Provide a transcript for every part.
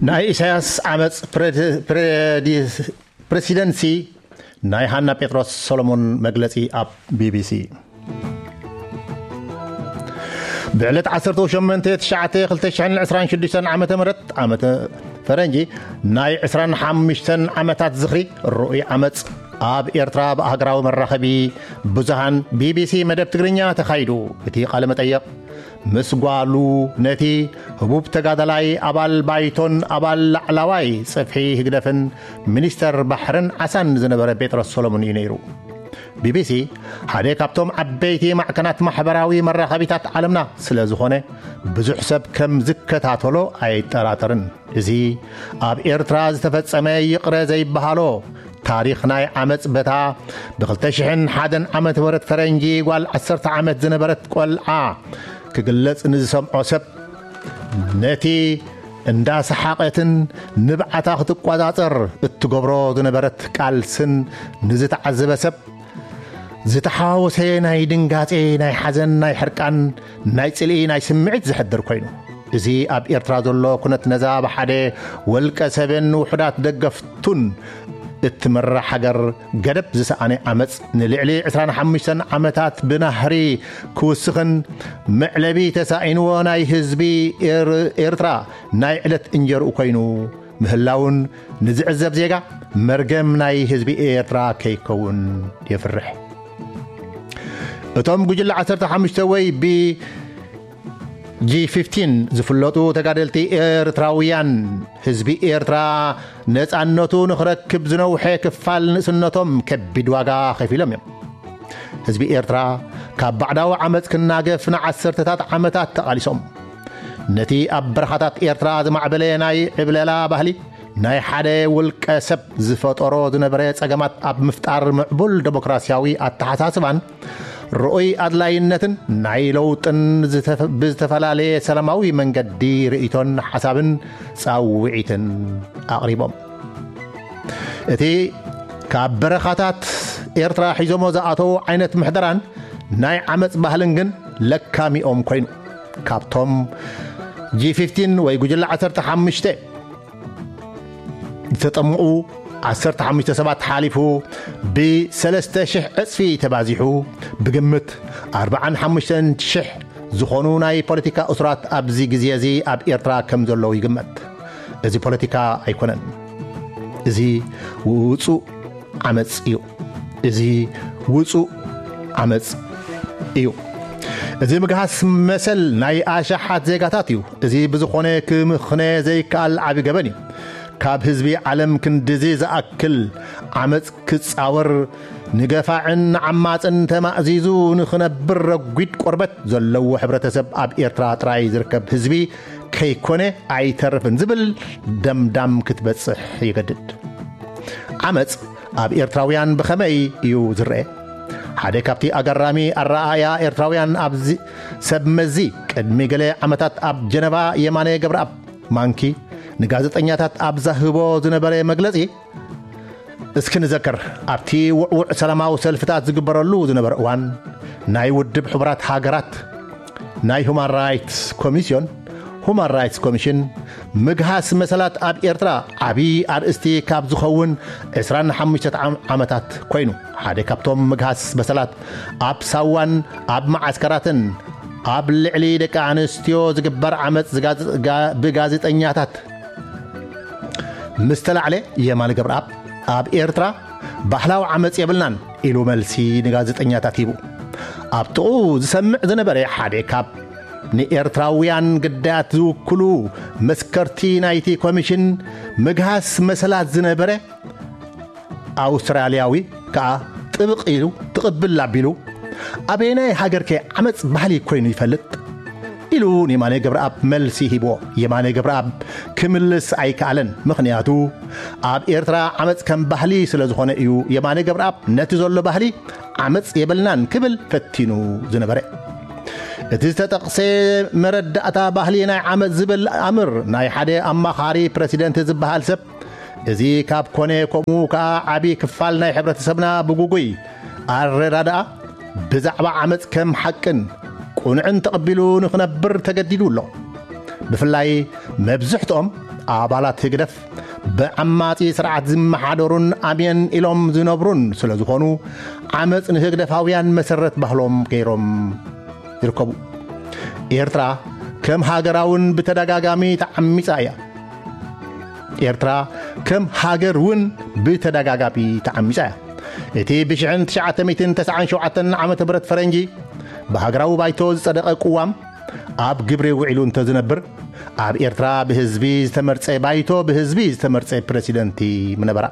ናይ ኢሳያስ ዓመፅ ፕሬዲ- ፕሬዲ- ፕሬሲደንሲ ናይ ሃና ጴጥሮስ ሰሎሞን መግለፂ ኣብ ቢቢሲ። ብዕለት ዓሰርተ ሸሞንተ ትሽዓተ ክልተ ሽሕን ዕስራን ሽዱሽተን ዓመተ ምህረት ዓመተ ፈረንጂ ናይ ዕስራን ሓሙሽተን ዓመታት ዝኽሪ ርኡይ ዓመፅ ኣብ ኤርትራ ብኣህግራዊ መራኸቢ ብዙሃን ቢቢሲ መደብ ትግርኛ ተኻይዱ። እቲ ቃለ መጠየቕ ምስ ጓሉ ነቲ ህቡብ ተጋዳላይ ኣባል ባይቶን ኣባል ላዕላዋይ ጽፍሒ ህግደፍን ሚኒስተር ባሕርን ዓሳን ዝነበረ ጴጥሮስ ሰሎሞን እዩ ነይሩ። ቢቢሲ ሓደ ካብቶም ዓበይቲ ማዕከናት ማሕበራዊ መራኸቢታት ዓለምና ስለ ዝኾነ ብዙሕ ሰብ ከም ዝከታተሎ ኣይጠራጠርን። እዚ ኣብ ኤርትራ ዝተፈጸመ ይቕረ ዘይበሃሎ ታሪኽ ናይ ዓመጽ በታ ብ ክልተ ሽሕን ሓደን ዓመተ ምህረት ፈረንጂ ጓል ዓሰርተ ዓመት ዝነበረት ቆልዓ ክግለጽ ንዝሰምዖ ሰብ ነቲ እንዳሰሓቐትን ንብዓታ ክትቋጻጸር እትገብሮ ዝነበረት ቃልስን ንዝተዓዘበ ሰብ ዝተሓዋወሰ ናይ ድንጋጼ፣ ናይ ሓዘን፣ ናይ ሕርቃን፣ ናይ ጽልኢ፣ ናይ ስምዒት ዘሕድር ኮይኑ፣ እዚ ኣብ ኤርትራ ዘሎ ኩነት ነዛ ብሓደ ወልቀ ሰብን ውሑዳት ደገፍቱን እትምራሕ ሃገር ገደብ ዝሰኣነ ዓመጽ ንልዕሊ ዕስራን ሓሙሽተን ዓመታት ብናህሪ ክውስኽን መዕለቢ ተሳኢንዎ ናይ ህዝቢ ኤር- ኤርትራ ናይ ዕለት እንጀርኡ ኮይኑ ምህላውን ንዝዕዘብ ዜጋ መርገም ናይ ህዝቢ ኤርትራ ከይከውን የፍርሕ። እቶም ጉጅለ ዓሰርተ ሓሙሽተ ወይ ብ ጂ ፊፍቲን ዝፍለጡ ተጋደልቲ ኤርትራውያን ህዝቢ ኤርትራ ነጻነቱ ንኽረክብ ዝነውሐ ክፋል ንእስነቶም ከቢድ ዋጋ ከፊሎም እዮም። ህዝቢ ኤርትራ ካብ ባዕዳዊ ዓመጽ ክናገፍ ንዓሰርተታት ዓመታት ተቓሊሶም። ነቲ ኣብ በረኻታት ኤርትራ ዝማዕበለ ናይ ዕብለላ ባህሊ ናይ ሓደ ውልቀ ሰብ ዝፈጠሮ ዝነበረ ጸገማት ኣብ ምፍጣር ምዕቡል ደሞክራሲያዊ ኣተሓሳስባን ርኡይ ኣድላይነትን ናይ ለውጥን ዝተፈ- ብዝተፈላለየ ሰላማዊ መንገዲ ርእይቶን ሓሳብን ጻውዒትን ኣቕሪቦም። እቲ ካብ በረኻታት ኤርትራ ሒዞሞ ዝኣተዉ ዓይነት ምሕደራን ናይ ዓመጽ ባህልን ግን ለካሚኦም ኮይኑ ካብቶም ጂ ፊፍቲን ወይ ጉጅለ ዓሰርተ ሓሙሽተ ዝተጠምቑ ዓሰርተ ሓሙሽተ ሰባት ሓሊፉ ብሰለስተ ሽሕ ዕጽፊ ተባዚሑ ብግምት ኣርባዓን ሓሙሽተን ሽሕ ዝኾኑ ናይ ፖለቲካ እሱራት ኣብዚ ግዜ እዚ ኣብ ኤርትራ ከም ዘለዉ ይግመት። እዚ ፖለቲካ ኣይኮነን። እዚ ውጹእ ዓመጽ እዩ። እዚ ውጹእ ዓመጽ እዩ። እዚ ምግሃስ መሰል ናይ ኣሽሓት ዜጋታት እዩ። እዚ ብዝኾነ ክምኽነ ዘይከኣል ዓቢ ገበን እዩ። ካብ ህዝቢ ዓለም ክንድዚ ዝኣክል ዓመጽ ክጻወር ንገፋዕን ንዓማጽን ተማእዚዙ ንኽነብር ረጒድ ቆርበት ዘለዎ ሕብረተሰብ ኣብ ኤርትራ ጥራይ ዝርከብ ህዝቢ ከይኮነ ኣይተርፍን ዝብል ደምዳም ክትበጽሕ ይገድድ። ዓመጽ ኣብ ኤርትራውያን ብኸመይ እዩ ዝረአ? ሓደ ካብቲ ኣገራሚ ኣረኣእያ ኤርትራውያን ኣብዚ ሰብ መዚ ቅድሚ ገለ ዓመታት ኣብ ጀነቫ የማነ ገብረኣብ ማንኪ ንጋዜጠኛታት ኣብ ዛህቦ ዝነበረ መግለጺ እስኪ ንዘክር። ኣብቲ ውዕውዕ ሰላማዊ ሰልፍታት ዝግበረሉ ዝነበረ እዋን ናይ ውድብ ሕቡራት ሃገራት ናይ ሁማን ራይትስ ኮሚስዮን ሁማን ራይትስ ኮሚሽን ምግሃስ መሰላት ኣብ ኤርትራ ዓቢ ኣርእስቲ ካብ ዝኸውን ዕስራን ሓሙሽተ ዓመታት ኮይኑ ሓደ ካብቶም ምግሃስ መሰላት ኣብ ሳዋን ኣብ መዓስከራትን ኣብ ልዕሊ ደቂ ኣንስትዮ ዝግበር ዓመጽ ዝጋዝ- ጋ- ብጋዜጠኛታት ምስ ተላዕለ የማነ ገብረኣብ ኣብ ኤርትራ ባህላዊ ዓመጽ የብልናን ኢሉ መልሲ ንጋዜጠኛታት ሂቡ። ኣብ ጥቕኡ ዝሰምዕ ዝነበረ ሓደ ካብ ንኤርትራውያን ግዳያት ዝውክሉ መስከርቲ ናይቲ ኮሚሽን ምግሃስ መሰላት ዝነበረ ኣውስትራልያዊ ከኣ ጥብቕ ኢሉ ትቕብል ኣቢሉ ኣበየናይ ሃገርከ ዓመጽ ባህሊ ኮይኑ ይፈልጥ ኢሉ ንየማነ ገብረኣብ መልሲ ሂብዎ። የማነ ገብረኣብ ክምልስ ኣይከኣለን። ምኽንያቱ ኣብ ኤርትራ ዓመጽ ከም ባህሊ ስለ ዝኾነ እዩ። የማነ ገብረኣብ ነቲ ዘሎ ባህሊ ዓመጽ የብልናን ክብል ፈቲኑ ዝነበረ። እቲ ዝተጠቕሰ መረዳእታ ባህሊ ናይ ዓመጽ ዝብል ኣምር ናይ ሓደ ኣማኻሪ ፕረሲደንት ዝበሃል ሰብ እዚ ካብ ኮነ ከምኡ ከኣ ዓቢ ክፋል ናይ ሕብረተሰብና ብጉጉይ ኣረዳድኣ ብዛዕባ ዓመጽ ከም ሓቅን ቁኑዕን ተቐቢሉ ንኽነብር ተገዲዱ ኣሎ። ብፍላይ መብዝሕትኦም ኣባላት ህግደፍ ብዓማጺ ስርዓት ዝመሓደሩን ኣምየን ኢሎም ዝነብሩን ስለ ዝኾኑ፣ ዓመጽ ንህግደፋውያን መሰረት ባህሎም ገይሮም ይርከቡ። ኤርትራ ከም ሃገራውን ብተደጋጋሚ ተዓሚጻ እያ። ኤርትራ ከም ሃገር እውን ብተደጋጋሚ ተዓሚጻ እያ። እቲ ብ ሽሕን ትሽዓተ ሚእትን ተስዓን ሸውዓተን ዓመተ ምህረት ፈረንጂ ብሃገራዊ ባይቶ ዝጸደቐ ቅዋም ኣብ ግብሪ ውዒሉ እንተዝነብር፣ ኣብ ኤርትራ ብህዝቢ ዝተመርጸ ባይቶ፣ ብህዝቢ ዝተመርጸ ፕረሲደንቲ ምነበራ።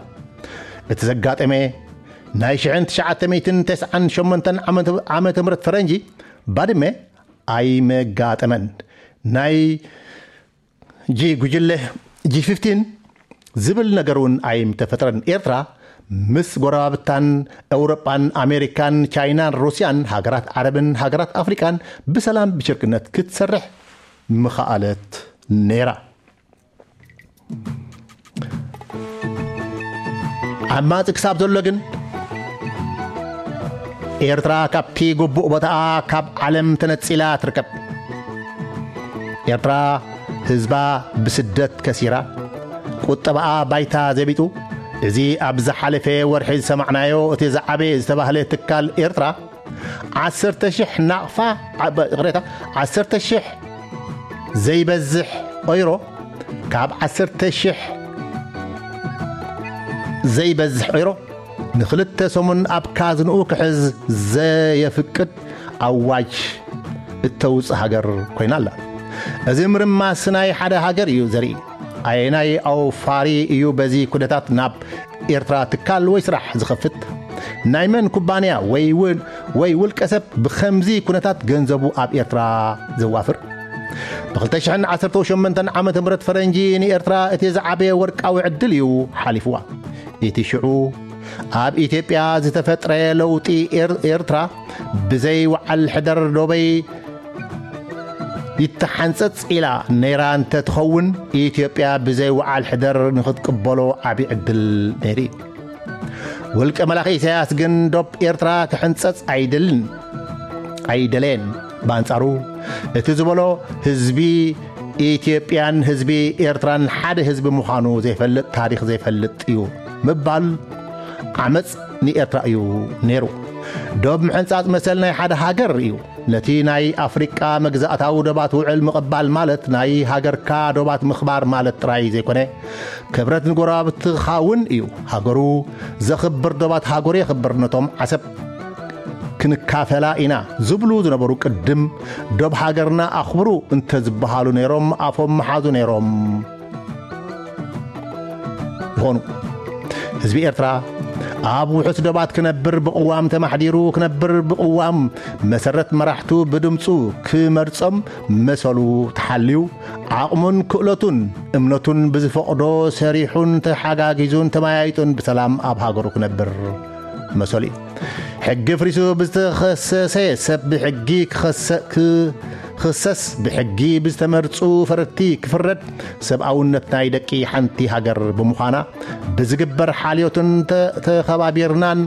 እቲ ዘጋጠመ ናይ ሽሕን ትሽዓተ ሚእትን ተስዓን ሸሞንተን ዓመተ ምህረት ፈረንጂ ባድመ ኣይመጋጠመን። ናይ ጂ ጉጅለ፣ ጂ ፊፍቲን ዝብል ነገር እውን ኣይምተፈጥረን። ኤርትራ ምስ ጎረባብታን፣ ኤውሮጳን፣ ኣሜሪካን፣ ቻይናን፣ ሩስያን፣ ሃገራት ዓረብን ሃገራት ኣፍሪቃን ብሰላም ብሽርክነት ክትሰርሕ ምኸኣለት ነይራ። ዓማጺ ክሳብ ዘሎ ግን፣ ኤርትራ ካብቲ ግቡእ ቦታኣ ካብ ዓለም ተነጺላ ትርከብ። ኤርትራ ህዝባ ብስደት ከሲራ፣ ቁጠባኣ ባይታ ዘቢጡ፣ እዚ ኣብ ዝሓለፈ ወርሒ ዝሰማዕናዮ እቲ ዝዓበየ ዝተባህለ ትካል ኤርትራ፣ ዓሰርተ ሽሕ ናቕፋ፣ ዓ-፣ ይቕሬታ፣ ዓሰርተ ሽሕ ዘይበዝሕ ኦይሮ፣ ካብ ዓሰርተ ሽሕ ዘይበዝሕ ኦይሮ ንኽልተ ሰሙን ኣብ ካዝንኡ ክሕዝ ዘየፍቅድ ኣዋጅ እተውጽእ ሃገር ኮይና ኣላ። እዚ ምርማስ ናይ ሓደ ሃገር እዩ ዘርኢ። ኣየናይ ኣውፋሪ እዩ በዚ ኩነታት ናብ ኤርትራ ትካል ወይ ስራሕ ዝኸፍት? ናይ መን ኩባንያ ወይ ውን-፣ ወይ ውልቀ ሰብ ብኸምዚ ኩነታት ገንዘቡ ኣብ ኤርትራ ዘዋፍር? ብ ክልተ ሽሕን ዓሰርተ ሸሞንተን ዓመተ ምህረት ፈረንጂ ንኤርትራ እቲ ዝዓበየ ወርቃዊ ዕድል እዩ ሓሊፍዋ። እቲ ሽዑ ኣብ ኢትዮጵያ ዝተፈጥረ ለውጢ ኤር-፣ ኤርትራ ብዘይ ወዓል ሕደር ዶበይ ይተሓንጸጽ ኢላ ነይራ እንተ ትኸውን፣ ኢትዮጵያ ብዘይ ወዓል ሕደር ንኽትቅበሎ ዓቢ ዕድል ነይሩ እዩ። ውልቀ መላኺ ኢሳያስ ግን ዶብ ኤርትራ ክሕንጸጽ ኣይደልን፣ ኣይደለየን። ብኣንጻሩ፣ እቲ ዝበሎ ህዝቢ ኢትዮጵያን ህዝቢ ኤርትራን ሓደ ህዝቢ ምዃኑ ዘይፈልጥ፣ ታሪኽ ዘይፈልጥ እዩ ምባል ዓመጽ ንኤርትራ እዩ ነይሩ። ዶብ ምሕንጻጽ መሰል ናይ ሓደ ሃገር እዩ። ነቲ ናይ ኣፍሪቃ መግዛእታዊ ዶባት ውዕል ምቕባል ማለት ናይ ሃገርካ ዶባት ምኽባር ማለት ጥራይ ዘይኮነ፣ ክብረት ንጎረባብትኻ እውን እዩ። ሃገሩ ዘኽብር ዶባት ሃገሩ የኽብር። ነቶም ዓሰብ ክንካፈላ ኢና ዝብሉ ዝነበሩ ቅድም ዶብ ሃገርና ኣኽብሩ እንተዝበሃሉ ነይሮም ኣፎም መሓዙ ነይሮም። ይኾኑ። ህዝቢ ኤርትራ ኣብ ውሑስ ዶባት ክነብር ብቕዋም ተማሕዲሩ ክነብር ብቕዋም መሰረት መራሕቱ ብድምፁ ክመርጾም መሰሉ ተሓልዩ ዓቕሙን ክእለቱን እምነቱን ብዝፈቕዶ ሰሪሑን ተሓጋጊዙን ተመያይጡን ብሰላም ኣብ ሃገሩ ክነብር መሰሉ እዩ። ሕጊ ፍሪሱ ብዝተኸሰሰ ሰብ ብሕጊ ክኸሰ-፣ ክኽሰስ፣ ብሕጊ ብዝተመርጹ ፈረድቲ ክፍረድ፣ ሰብኣውነት ናይ ደቂ ሓንቲ ሃገር ብምዃና፣ ብዝግበር ሓልዮትን ተ-፣ ተኸባቢርናን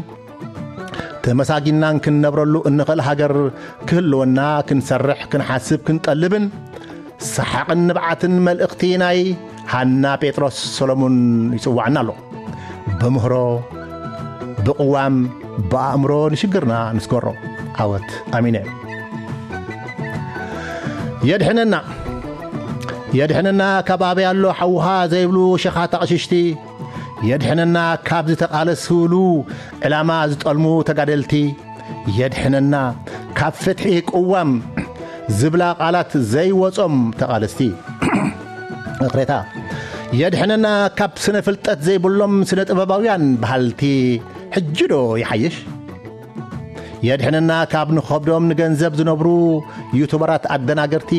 ተመሳጊናን ክንነብረሉ እንኽእል ሃገር ክህልወና ክንሰርሕ፣ ክንሓስብ፣ ክንጠልብን ሰሓቕን ንብዓትን መልእኽቲ ናይ ሃና ጴጥሮስ ሰሎሙን ይጽዋዕና ኣሎ። ብምህሮ፣ ብቕዋም፣ ብኣእምሮ ንሽግርና ንስገሮ። ዓወት ኣሚነ። የድሕነና፣ የድሕነና ካብ ኣበይ ኣሎ ሓውኻ ዘይብሉ ሸኻት ኣቕሽሽቲ፣ የድሕነና ካብ ዝተቓለስሉ ዕላማ ዝጠልሙ ተጋደልቲ፣ የድሕነና ካብ ፍትሒ ቅዋም ዝብላ ቃላት ዘይወጾም ተቓለስቲ። ይቕሬታ። የድሕነና ካብ ስነ ፍልጠት ዘይብሎም ስነ ጥበባውያን በሃልቲ ሕጂ ዶ ይሓይሽ? የድሕነና ካብ ንኸብዶም ንገንዘብ ዝነብሩ ዩቱበራት ኣደናገርቲ።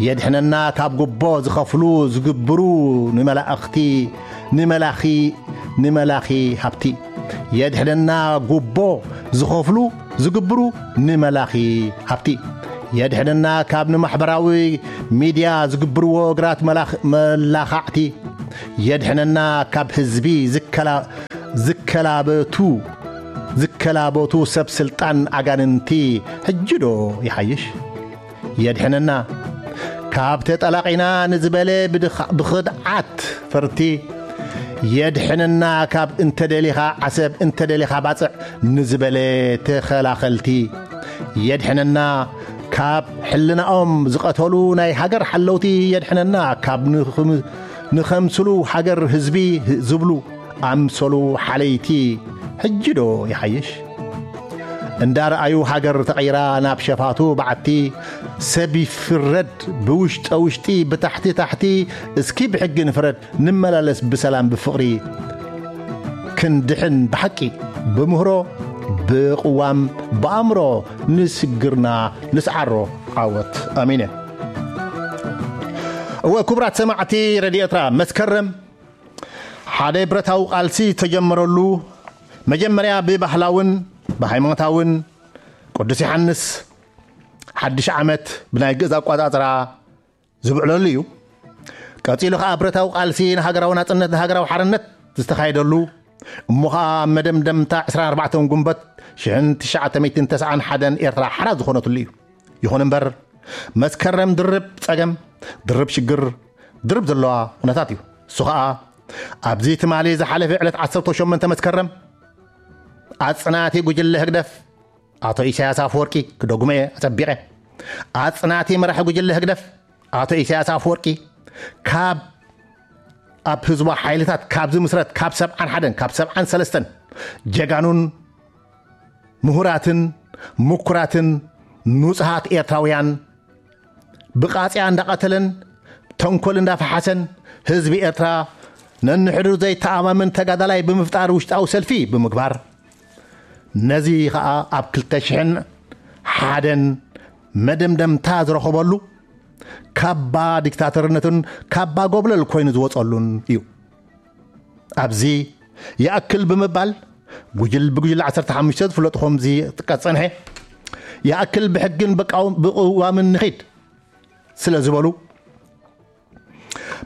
የድሕነና ካብ ጉቦ ዝኸፍሉ ዝግብሩ ንመላእኽቲ፣ ንመላኺ፣ ንመላኺ ሃብቲ። የድሕነና ጉቦ ዝኸፍሉ ዝግብሩ ንመላኺ ሃብቲ። የድሕነና ካብ ንማሕበራዊ ሚድያ ዝግብርዎ እግራት መላኽ-፣ መላኻዕቲ። የድሕነና ካብ ህዝቢ ዝከላ-፣ ዝከላበቱ፣ ዝከላበቱ ሰብ ስልጣን ኣጋንንቲ ሕጂ ዶ ይሓይሽ? የድሕነና ካብ ተጠላቒና ንዝበለ ብድኻ- ብኽድዓት ፈርቲ የድሕነና። ካብ እንተደሊኻ ዓሰብ እንተደሊኻ ባጽዕ ንዝበለ ተኸላኸልቲ የድሕነና። ካብ ሕልናኦም ዝቐተሉ ናይ ሃገር ሓለውቲ የድሕነና። ካብ ንኽም- ንኸምስሉ ሃገር ህዝቢ ዝብሉ ኣምሰሉ ሓለይቲ ሕጂ ዶ ይሓይሽ? እንዳረኣዩ ሃገር ተቐይራ ናብ ሸፋቱ በዓቲ ሰብ ይፍረድ ብውሽጠ ውሽጢ ብታሕቲ ታሕቲ እስኪ ብሕጊ ንፍረድ ንመላለስ ብሰላም ብፍቕሪ ክንድሕን ብሓቂ ብምህሮ ብቕዋም ብኣእምሮ ንስግርና ንስዓሮ። ዓወት ኣሚነ። እወ ክቡራት ሰማዕቲ ረድዮ ኤርትራ መስከረም ሓደ ብረታዊ ቃልሲ ዝተጀመረሉ መጀመርያ ብባህላውን ብሃይማኖታውን ቅዱስ ዮሓንስ ሓድሽ ዓመት ብናይ ግእዝ ኣቋጻጽራ ዝብዕለሉ እዩ። ቀጺሉ ከኣ ብረታዊ ቃልሲ ንሃገራዊ ናጽነት ንሃገራዊ ሓርነት ዝተኻየደሉ እሞ ኸኣ መደምደምታ ዕስራን ኣርባዕተን ጉንበት ሽሕን ትሽዓተ ሚእትን ተስዓን ሓደን ኤርትራ ሓራ ዝኾነትሉ እዩ። ይኹን እምበር መስከረም ድርብ ጸገም ድርብ ሽግር ድርብ ዘለዋ ኩነታት እዩ። እሱ ኸኣ ኣብዚ ትማሊ ዝሓለፈ ዕለት ዓሰርተ ሸሞንተ መስከረም ኣጽናቲ ጉጅለ ህግደፍ ኣቶ ኢሳያስ ኣፈወርቂ ክደግሞ እየ ኣጸቢቐ ኣጽናቲ መራሒ ጉጅለ ህግደፍ ኣቶ ኢሳያስ ኣፈወርቂ ካብ ኣብ ህዝባዊ ሓይልታት ካብ ዝምስረት ካብ ሰብዓን ሓደን ካብ ሰብዓን ሰለስተን ጀጋኑን ምሁራትን ምኩራትን ንጹሃት ኤርትራውያን ብቃጽያ እንዳቐተለን ተንኮል እንዳፈሓሰን ህዝቢ ኤርትራ ነንሕድሩ ዘይተኣማመን ተጋዳላይ ብምፍጣር ውሽጣዊ ሰልፊ ብምግባር ነዚ ኸኣ ኣብ ክልተ ሽሕን ሓደን መደምደምታ ዝረኸበሉ ካባ ዲክታተርነትን ካባ ጎብለል ኮይኑ ዝወጸሉን እዩ። ኣብዚ ይኣክል ብምባል ጉጅል ብጉጅል ዓሰርተ ሓሙሽተ ዝፍለጡ ከምዚ ጥቀስ ጸንሐ ይኣክል ብሕግን ብቃው- ብቅዋምን ንኺድ ስለ ዝበሉ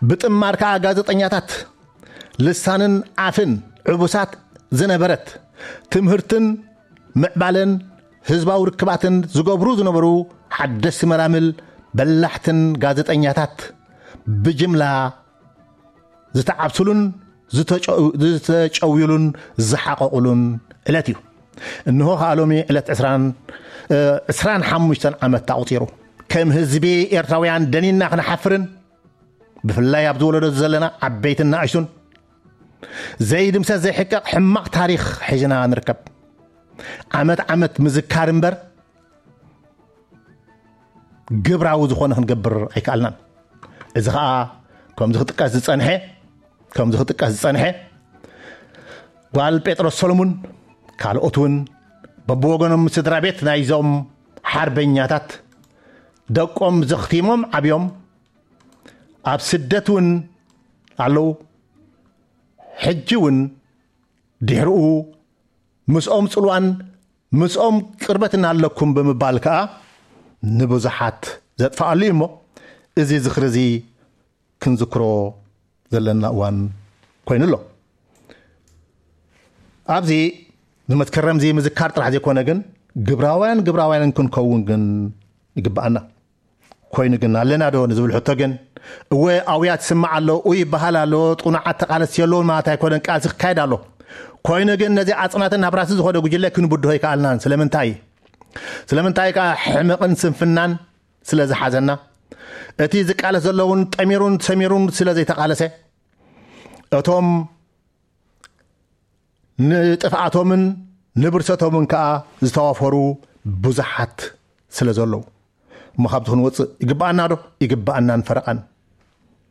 ብጥማር ከኣ ጋዜጠኛታት ልሳንን ኣፍን ዕቡሳት ዝነበረት ትምህርትን ምዕባለን ህዝባዊ ርክባትን ዝገብሩ ዝነበሩ ሓደስቲ መላምል በላሕትን ጋዜጠኛታት ብጅምላ ዝተዓብስሉን ዝተጨው- ዝተጨውዩሉን ዝሓቐቑሉን ዕለት እዩ። እንሆ ከኣ ሎሚ ዕለት ዕስራን እ፣ ዕስራን ሓሙሽተን ዓመት ኣቑጺሩ ከም ህዝቢ ኤርትራውያን ደኒና ክንሓፍርን ብፍላይ ኣብ ዝወለዶ ዘለና ዓበይትን ንኣሽቱን ዘይድምሰስ ዘይሕቀቕ ሕማቕ ታሪኽ ሒዝና ንርከብ። ዓመት ዓመት ምዝካር እምበር ግብራዊ ዝኾነ ክንገብር ኣይከኣልናን። እዚ ኸኣ ከምዚ ክጥቀስ ዝጸንሐ ከምዚ ክጥቀስ ዝጸንሐ ጓል ጴጥሮስ ሰሎሙን ካልኦት እውን በብወገኖም ስድራ ቤት ናይዞም ሓርበኛታት ደቆም ዘኽቲሞም ዓብዮም ኣብ ስደት እውን ኣለዉ። ሕጂ እውን ድሕርኡ ምስኦም ጽልዋን ምስኦም ቅርበትን ኣለኩም ብምባል ከኣ ንብዙሓት ዘጥፍኣሉ እዩ እሞ እዚ ዝኽሪ እዚ ክንዝክሮ ዘለና እዋን ኮይኑ ኣሎ። ኣብዚ ንመስከረም እዚ ምዝካር ጥራሕ ዘይኮነ ግን ግብራውያን ግብራውያን ክንከውን ግን ይግብኣና። ኮይኑ ግን ኣለና ዶ ንዝብል ሕቶ ግን እወ ኣውያት ይስማዕ ኣሎ፣ ኡ ይበሃል ኣሎ፣ ጥኑዓት ተቓለስቲ የለውን ማለት ኣይኮነን፣ ቃልሲ ክካየድ ኣሎ። ኮይኑ ግን ነዚ ኣጽናትን ናብ ራሲ ዝኾነ ጉጅለ ክንብድሆ ይከኣልናን። ስለምንታይ? ስለምንታይ ከኣ ሕመቕን ስንፍናን ስለ ዝሓዘና፣ እቲ ዝቃለስ ዘለውን ጠሚሩን ሰሚሩን ስለ ዘይተቓለሰ፣ እቶም ንጥፍኣቶምን ንብርሰቶምን ከኣ ዝተዋፈሩ ብዙሓት ስለ ዘለዉ። እሞ ካብዚ ክንወፅእ ይግብኣና ዶ? ይግብኣናን ፈረቓን።